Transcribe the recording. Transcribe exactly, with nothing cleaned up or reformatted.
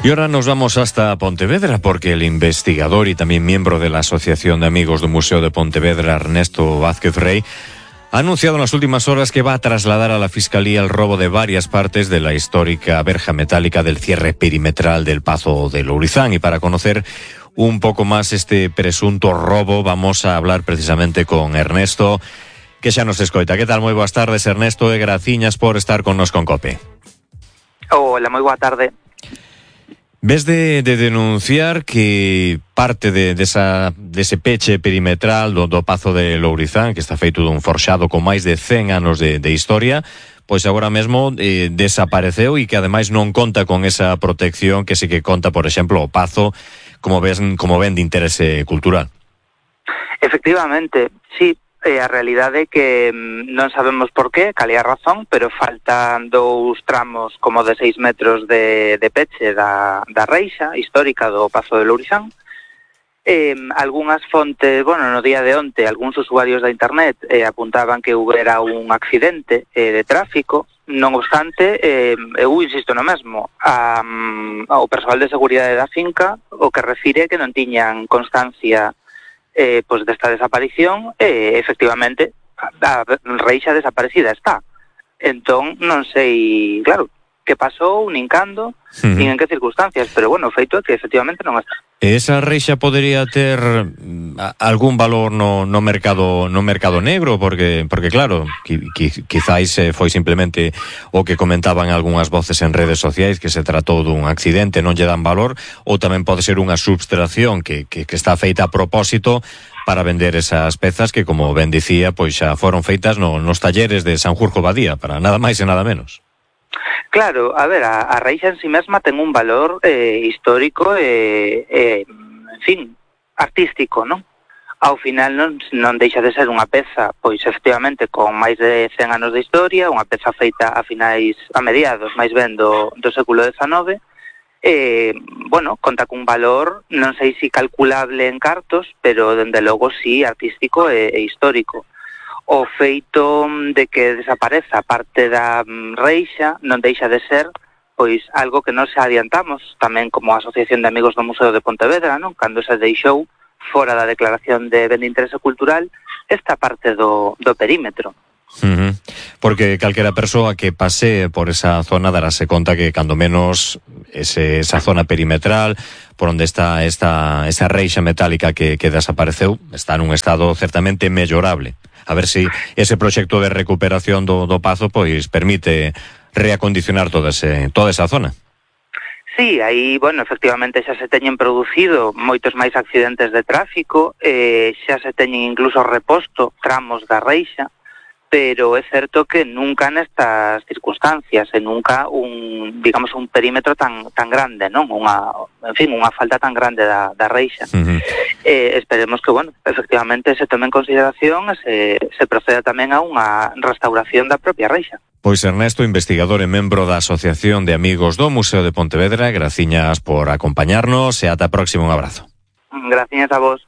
Y ahora nos vamos hasta Pontevedra porque el investigador y también miembro de la Asociación de Amigos del Museo de Pontevedra, Ernesto Vázquez Rey, ha anunciado en las últimas horas que va a trasladar a la Fiscalía el robo de varias partes de la histórica verja metálica del cierre perimetral del Pazo de Lourizán. Y para conocer un poco más este presunto robo, vamos a hablar precisamente con Ernesto, que xa nos escoita. Que tal? Moi boas tardes, Ernesto, e graciñas por estar con nos con COPE. Hola, moi boa tarde. Ves de, de denunciar que parte de, de esa, dese peche perimetral do, do Pazo de Lourizán, que está feito dun forxado con máis de cen anos de, de historia, pois agora mesmo eh, desapareceu e que ademais non conta con esa protección que sí que conta, por exemplo, o Pazo, como ven, como ven de interese cultural. Efectivamente, sí. Eh, a realidade é que mm, non sabemos por qué, cal é a razón, pero faltan dous tramos como de seis metros de, de peche da, da reixa histórica do Pazo de Lourizán. Eh, algunhas fontes, bueno, no día de onte, algúns usuarios da internet eh, apuntaban que houbera un accidente eh, de tráfico. Non obstante, eh, eu insisto no mesmo, a, ao persoal de seguridade da finca o que refire que non tiñan constancia Eh, pois desta desaparición, eh, efectivamente a reixa desaparecida está. Entón, non sei, claro, que pasou, nin cando, uh-huh. nin en que circunstancias, pero bueno, o feito é que efectivamente non está. Esa reixa podería ter algún valor no, no mercado no mercado negro, porque porque claro, qui, qui, quizáis eh, foi simplemente o que comentaban algunhas voces en redes sociais, que se tratou dun accidente, non lle dan valor, ou tamén pode ser unha subtracción que, que, que está feita a propósito para vender esas pezas que, como ben dicía, pois xa foron feitas no, nos talleres de Sanjurjo Badía, para nada máis e nada menos. Claro, a ver, a, a reixa en si mesma ten un valor eh, histórico e, eh, eh, en fin, artístico, non? Ao final non, non deixa de ser unha peza, pois efectivamente, con máis de cen anos de historia, unha peza feita a finais, a mediados, máis ben do, do século dezanove, eh, bueno, conta cun valor, non sei si calculable en cartos, pero dende logo si artístico e, e histórico. O feito de que desapareza parte da reixa non deixa de ser pois algo que nos adiantamos tamén como Asociación de Amigos do Museo de Pontevedra, non? Cando se deixou fora da declaración de ben de interese cultural esta parte do, do perímetro. Uh-huh. Porque calquera persoa que pase por esa zona darase conta que cando menos ese, esa zona perimetral por onde está esta, esa reixa metálica que, que desapareceu está nun estado certamente mellorable. A ver si ese proxecto de recuperación do, do Pazo pois permite reacondicionar toda, ese, toda esa zona. Sí, aí, bueno, efectivamente xa se teñen producido moitos máis accidentes de tráfico, eh, xa se teñen incluso reposto tramos da reixa, pero é certo que nunca nestas circunstancias, e nunca un, digamos, un perímetro tan tan grande, non? Unha, en fin, unha falta tan grande da, da reixa. Uh-huh. Eh, esperemos que, bueno, efectivamente se tome en consideración e se, se proceda tamén a unha restauración da propia reixa. Pois Ernesto, investigador e membro da Asociación de Amigos do Museo de Pontevedra, graciñas por acompañarnos e ata a próxima, un abrazo. Graciñas a vos.